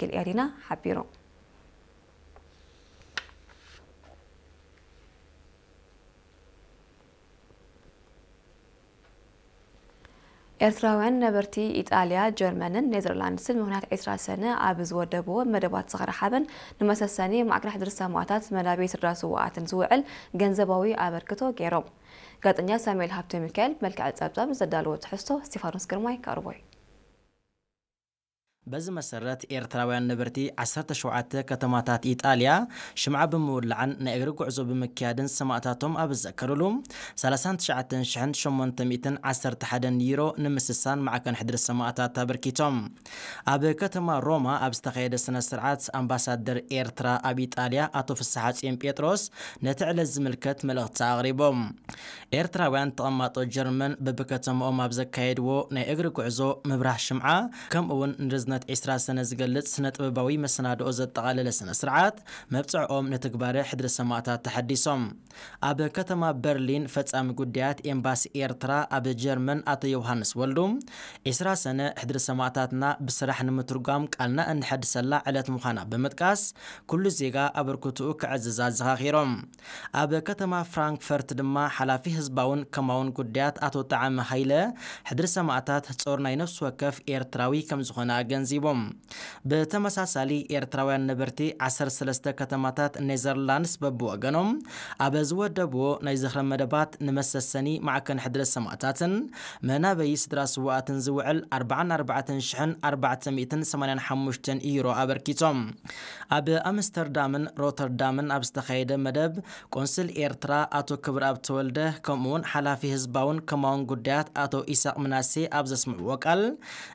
ወኪል ኤሪና ሓቢሩ። ኤርትራውያን ነበርቲ ኢጣልያ፣ ጀርመንን ኔዘርላንድስን ምኽንያት ዕስራ ሰነ ኣብ ዝወደብዎ መደባት ዝኽሪ ሓበን ንመሰሰኒ ማዕከን ሕድሪ ሰማእታት መናበይ ስድራ ስውኣትን ዝውዕል ገንዘባዊ ኣበርክቶ ገይሮም። ጋዜጠኛ ሳሙኤል ሃብተ ሚካኤል መልክዕ ጸብጻብ ዘዳለዎ ትሕዝቶ ስቴፋኖስ ግርማይ ከቕርቦ እዩ። በዚ መሰረት ኤርትራውያን ነበርቲ ዓሰርተ ሸውዓተ ከተማታት ኢጣልያ ሽምዓ ብምውላዕን ናይ እግሪ ጉዕዞ ብምክያድን ሰማእታቶም ኣብ ዝዘከሩሉ ሰላሳን ትሽዓተን ሽሕን ሸሞንተ ሚእትን ዓሰርተ ሓደን ዩሮ ንምስሳን ማዕከን ሕድሪ ሰማእታት ኣበርኪቶም። ኣብ ከተማ ሮማ ኣብ ዝተኻየደ ስነ ስርዓት ኣምባሳደር ኤርትራ ኣብ ኢጣልያ ኣቶ ፍስሓጽዮን ጴጥሮስ ነቲ ዕለት ዝምልከት መልእኽቲ ኣቕሪቦም። ኤርትራውያን ተቐማጦ ጀርመን በብከተማኦም ኣብ ዘካየድዎ ናይ እግሪ ጉዕዞ ምብራህ ሽምዓ ከምኡ እውን ንርዝነት ዕስራ ሰነ ዝገልጽ ስነ ጥበባዊ መሰናድኦ ዘጠቓለለ ስነ ስርዓት መብጽዕኦም ንትግባረ ሕድሪ ሰማእታት ተሓዲሶም። ኣብ ከተማ በርሊን ፈጻሚ ጉዳያት ኤምባሲ ኤርትራ ኣብ ጀርመን ኣቶ ዮሃንስ ወልዱ ዕስራ ሰነ ሕድሪ ሰማእታትና ብስራሕ ንምትርጓም ቃልና እንሐድሰላ ዕለት ምዃና ብምጥቃስ ኩሉ ዜጋ ኣበርክትኡ ከዕዝዝ ኣዘኻኺሮም። ኣብ ከተማ ፍራንክፈርት ድማ ሓላፊ ህዝባውን ከማውን ጉዳያት ኣቶ ጣዕመ ሃይለ ሕድሪ ሰማእታት ጾር ናይ ነፍሲ ወከፍ ኤርትራዊ ከም ዝኾነ ኣገንዚቦም። ብተመሳሳሊ ኤርትራውያን ነበርቲ ዓሰርተ ሰለስተ ከተማታት ኔዘርላንድስ በብወገኖም ኣብ ዝወደብዎ ናይ ዝኽሪ መደባት ንመሰሰኒ ማዕከን ሕድሪ ሰማእታትን መናበይ ስድራ ስውኣትን ዝውዕል ኣርባዓን ኣርባዕተን ሽሕን ኣርባዕተ ሚእትን ሰማንያን ሓሙሽተን ዩሮ ኣበርኪቶም። ኣብ ኣምስተርዳምን ሮተርዳምን ኣብ ዝተኻየደ መደብ ቆንስል ኤርትራ ኣቶ ክብረኣብ ተወልደ ከምኡውን ሓላፊ ህዝባውን ከማውን ጉዳያት ኣቶ ኢሳቕ ምናሴ ኣብ ዘስምዕዎ ቃል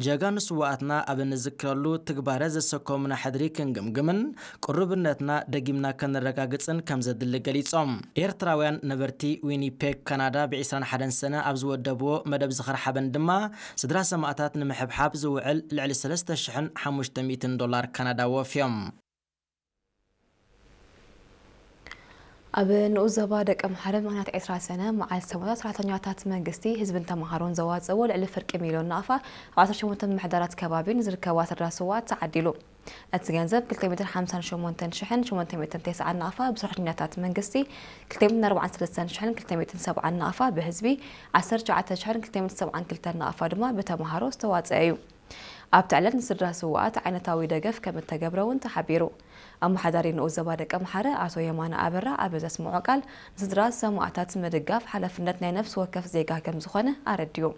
ጀጋኑ ስውኣትና ኣብ እንዝክረሉ ትግባረ ዘሰከሙና ሕድሪ ክንግምግምን ቅሩብነትና ደጊምና ከነረጋግጽን ከም ዘድሊ ገሊጾም። ኤርትራውያን ነበርቲ ዊኒፔግ ካናዳ ብ ዕስራን ሓደን ሰነ ኣብ ዝወደብዎ መደብ ዝኽሪ ሓበን ድማ ስድራ ሰማእታት ንምሕብሓብ ዝውዕል ልዕሊ ሰለስተ ሽሕን ሓሙሽተ ሚእትን ዶላር ካናዳ ወፍዮም። ኣብ ንኡስ ዞባ ደቀምሓረ ምኽንያት ዕስራ ሰነ መዓልቲ ሰማእታት ሰራሕተኛታት መንግስቲ፣ ህዝብን ተምሃሮን ዘዋፀእዎ ልዕሊ ፍርቂ ሚልዮን ናቕፋ ኣብ ዓሰርተ ሸሞንተ ምምሕዳራት ከባቢ ንዝርከባ ስድራ ስውኣት ተዓዲሉ። እቲ ገንዘብ ክልተ ሚእትን ሓምሳን ሸሞንተን ሽሕን ሸሞንተ ሚእትን ተስዓን ናቕፋ ብሰራሕተኛታት መንግስቲ፣ ክልተ ሚእትን ኣርባዓን ሰለስተን ሽሕን ክልተ ሚእትን ሰብዓን ናቕፋ ብህዝቢ፣ ዓሰርተ ትሽዓተ ሽሕን ክልተ ሚእትን ሰብዓን ክልተን ናቕፋ ድማ ብተምሃሮ ዝተዋፀአ እዩ። ኣብቲ ዕለት ንስድራ ስውኣት ዓይነታዊ ደገፍ ከም እተገብረ እውን ተሓቢሩ። ኣመሓዳሪ ንኡስ ዞባ ደቀምሓረ ኣቶ የማነ ኣበራ ኣብ ዘስምዖ ቃል፣ ንስድራ ሰማእታት ምድጋፍ ሓላፍነት ናይ ነፍሲ ወከፍ ዜጋ ከም ዝኾነ ኣረዲኡ።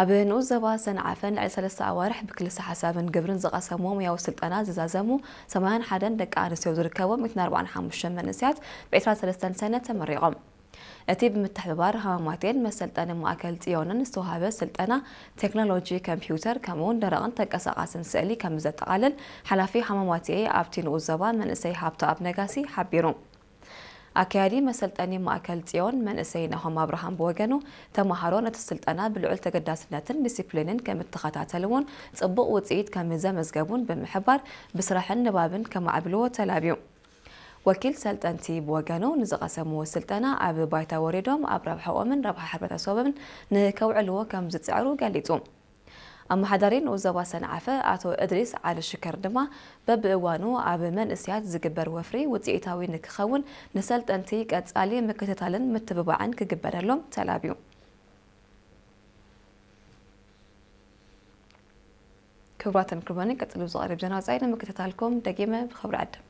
ኣብ ንኡስ ዞባ ሰንዓፈ ንልዕሊ ሰለስተ ኣዋርሕ ብክልሰ ሓሳብን ግብርን ዝቐሰምዎ ሙያዊ ስልጠና ዝዛዘሙ ሰማንያን ሓደን ደቂ ኣንስትዮ ዝርከቦም ሚእትን ኣርባዓን ሓሙሽተን መንእሰያት ብ ዕስራን ሰለስተን ሰነ ተመሪቖም። እቲ ብምትሕብባር ሃማማቴን መሰልጠኒ ማእከል ጽዮንን ዝተዋህበ ስልጠና ቴክኖሎጂ ኮምፒውተር ከምኡውን ደረቕን ተንቀሳቓስን ስእሊ ከም ዘጠቓልል ሓላፊ ሃማማቴ ኣብቲ ንኡስ ዞባ መንእሰይ ሃብተኣብ ነጋሲ ሓቢሩ። ኣካያዲ መሰልጠኒ ማእከል ጽዮን መንእሰይ ናሆም ኣብርሃም ብወገኑ፣ ተማሃሮ ነቲ ስልጠና ብልዑል ተገዳስነትን ዲሲፕሊንን ከም እተኸታተልዎን ጽቡቕ ውጽኢት ከም ዘመዝገቡን ብምሕባር፣ ብስራሕን ንባብን ከማዕብልዎ ተላብዩ። ወኪል ሰልጠንቲ ብወገኑ፣ ንዝቐሰምዎ ስልጠና ኣብ ባይታ ወሪዶም ኣብ ረብሓኦምን ረብሓ ሕብረተሰቦምን ንከውዕልዎ ከም ዝጽዕሩ ገሊጹ። ኣመሓዳሪ ንኡስ ዞባ ሰንዓፈ ኣቶ እድሪስ ዓሊ ሽከር ድማ፣ በብእዋኑ ኣብ መንእሰያት ዝግበር ወፍሪ ውጽኢታዊ ንክኸውን ንሰልጠንቲ ቀጻሊ ምክትታልን ምትብባዕን ክግበረሎም ተላብዩ። ክቡራትን ክቡራንን፣ ቀጽሉ ዝቐርብ ዜና ወጻኢ ንምክትታልኩም ደጊመ ብኽብሪ ዕድም።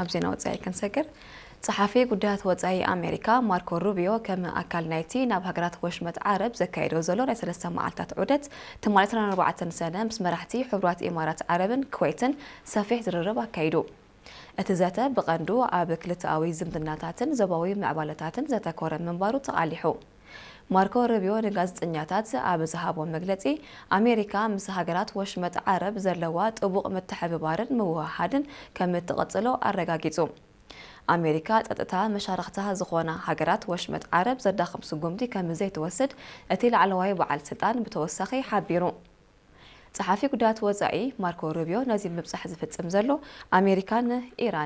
ኣብ ዜና ወጻኢ ክንሰግር፣ ጸሓፊ ጉዳያት ወጻኢ ኣሜሪካ ማርኮ ሩቢዮ ከም ኣካል ናይቲ ናብ ሃገራት ወሽመጥ ዓረብ ዘካየዶ ዘሎ ናይ ሰለስተ መዓልታት ዑደት፣ ትማሊ ዕስራን ኣርባዕተን ሰነ ምስ መራሕቲ ሕቡራት ኢማራት ዓረብን ኩዌትን ሰፊሕ ዝርርብ ኣካይዱ። እቲ ዘተ ብቐንዱ ኣብ ክልተኣዊ ዝምድናታትን ዞባዊ ምዕባለታትን ዘተኮረ ምንባሩ ተቓሊሑ። ማርኮ ሩቢዮ ንጋዜጠኛታት ኣብ ዝሃቦ መግለጺ፣ ኣሜሪካ ምስ ሃገራት ወሽመጥ ዓረብ ዘለዋ ጥቡቕ ምትሕብባርን ምውህሃድን ከም እትቕጽሎ ኣረጋጊጹ። ኣሜሪካ ጸጥታ መሻርኽታ ዝኾና ሃገራት ወሽመጥ ዓረብ ዘዳኽም ስጉምቲ ከም ዘይትወስድ እቲ ላዕለዋይ በዓል ስልጣን ብተወሳኺ ሓቢሩ። ጸሓፊ ጉዳያት ወጻኢ ማርኮ ሩቢዮ ነዚ ምብጻሕ ዝፍጽም ዘሎ ኣሜሪካን ኢራን